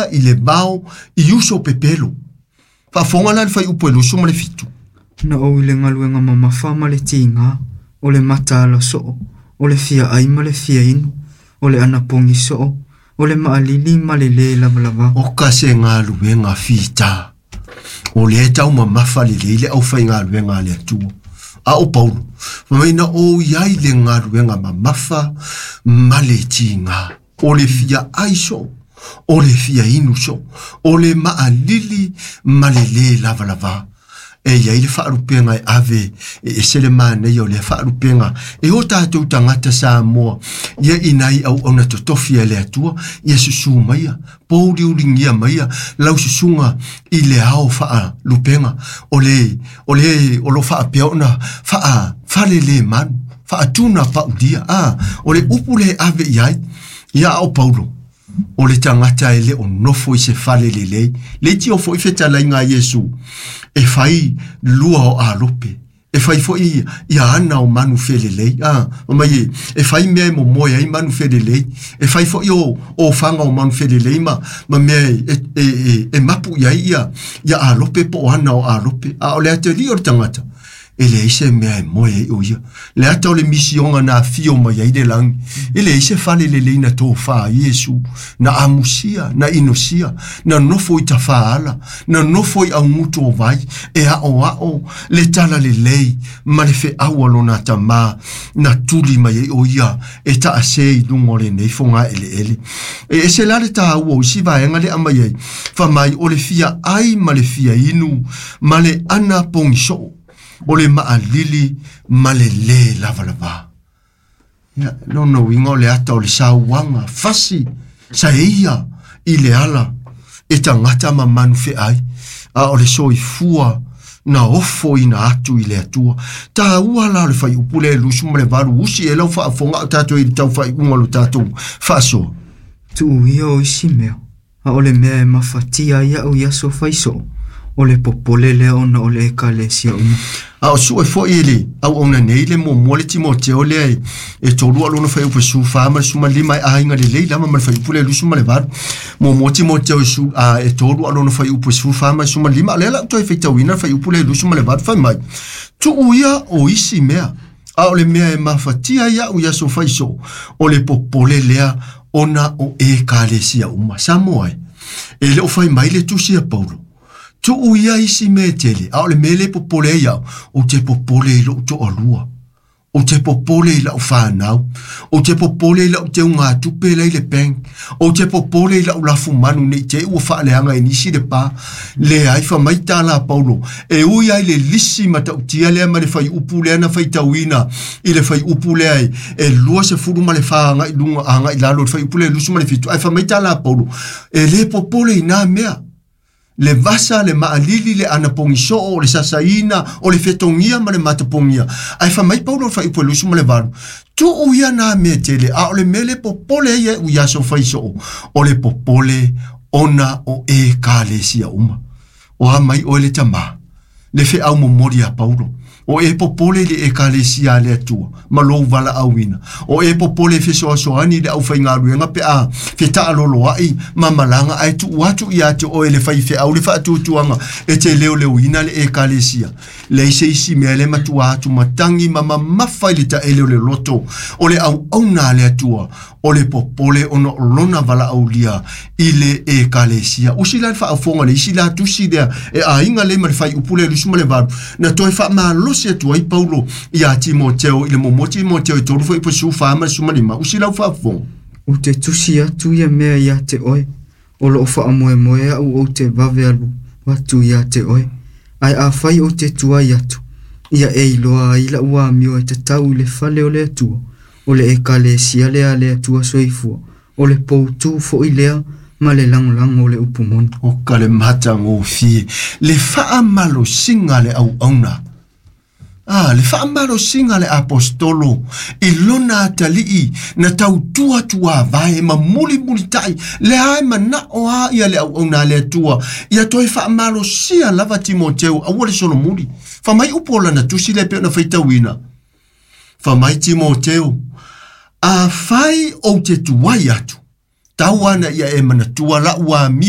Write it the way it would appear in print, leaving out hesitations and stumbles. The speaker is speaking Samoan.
ia i le vao i uso pepelo. Faafofoga la le fuaiupu e 27. Na ou i le galuega mamafa ma le tiga, o le mataala soo, o le fia ai ma le fia inu, o le anapogi soo, o le maalili ma le lē lavalava. O ka se galuega fita. O lea e taumamafa lelei le aufaigaluega a le Atua. A o Paulo, fai mai na ou i ai le galuega mamafa ma le tiga, o le fia ai soo, o le fia inu soo, o le maalili ma le lē lavalava. E i ai le faalupega e ave e ese le manaia o lea faalupega e o tatou tagata Samoa ia i nai auauna totofi a le Atua ia susu maia pouliuligia maia lau susuga i le ao faalupega o le o le o lo faapea ona faafalelemanu faatuna paulia a o le upu le ave i ai ia a o Paulo o le tagata e le o nofo i se fale lelei le tio foi fetalaiga a Iesu e fai lua o alope e fai foi ia ana o manu felelei a mai e fai mea e momoe ai manu felelei e fai foi o faga o manu felelei ma mea e mapu i ai ia alope po o ana o alope a o le atali o le tagata e leai se mea e moe ai o ia. Le ata o le misioga na afio mai ai le lagi. E leai se fale lelei na tofā ai Iesu, na amusia, na inosia, na nofo i tafaala, na nofo i augutu o vai, e aoao le tala lelei ma le feau a lona tamā, na tuli mai ai o ia e taasē i luga o lenei fogaeleele. E ese la le tāua o isi vaega le aumai ai, fai mai o le fia ai ma le fia inu ma le ana pogisoo, o le maalili ma le lē lavalava. Ia, lona uiga o le ata o le sauaga fasi saeia i le ala e tagata ma manu feai, a o le soifua na ofoina atu i le Atua. Tāua la o le fuaiupu lea e 28 usi e lau faafofoga o tatou i le tau faaiuga o lo tatou faasoa. Tuu ia o isi mea, a o le mea e mafatia ai au i aso fai soo, o le popole lea ona o le ekalesia uma. A o sue foi e le auauna nei le muamua le Timoteo lea e 3 a lona fuaiupu e 14 ma le 15 e aiga lelei lava ma le fuaiupu lea e 28. Muamua Timoteo e 3 a lona fuaiupu e 14 ma le 15. O lea la ou toe faitauina le fuaiupu lea e 28 fai mai, tuu ia o isi mea, a o le mea e mafatia ai au i aso fai soo, o le popole lea ona o ekalesia uma. Samoa e le o fai mai le tusi a Paulo, tuu ia isi mea e tele, a o le mea le popole ai au, ou te popole i lou toalua, ou te popole i lau whanau, ou te popole i lau teugatupe la i le bank, ou te popole i lau lafumanu nei te ua faaleaga e nisi le pa, leai fai mai tala a Paulo, e ui ai le lisi matautia lea ma le fuaiupu lea na faitauina i le fuaiupu lea e 24 agai luga agai lalo le fuaiupu lea e 27, ae fai mai tala a Paulo, e le popole i nā mea. Le vasa, le maalili, le anapogisoo, le sasaina, o le fetogia ma le matapogia. Ae fai mai Paulo le fuaiupu e 28, tuu ia nā mea tele, a o le mea le popole ai au i aso fai soo, o le popole ona o ekalesia uma. O a mai oe le tamā, le feau momoli a Paulo, o e popole i le ekalesia a le Atua, ma lou valaauina. O e popole e fesoasoani le aufaigaluega pe a fetaaloloai ma malaga ae tuu atu ia te oe le faifeau le faatuatuaga e te leoleoina le ekalesia. Leai se isi mea le matua atu matagi ma mamafa i le taele o le loto, o le auauna a le Atua, o le popole ona o lona valaaulia i le ekalesia. Usi la le faafofoga le isi la tusi lea e aiga lea ma le fuaiupu lea e 28, na toe faamalosi atu ai Paulo ia Timoteo i le muamua Timoteo e 3 fuaiupu e 14 ma le 15. Usi lau faafofoga. Ou te tusi atu ia mea ia te oe, o loo faamoemoe au ou te vave alu atu ia te oe, ae afai ou te tuai atu, ia e iloa ai lau amio e tatau i le fale o le Atua, o le ekalesia lea a le Atua soifua, o le poutū foi lea ma le lagolago o le upu moni. O ka le matagofie, le faamalosiga le auauna. Ah, le faamalosiga le apostolo i lona atalii na tautua tuavae ma mulimulitai le ae manao a ia le auauna a le Atua ia toe faamalosia lava Timoteo aua le solomuli. Fai mai upu o lana tusi lea e pei ona faitauina. Fai mai Timoteo, afai ou te tuai atu, tau ana ia e manatua lau amio.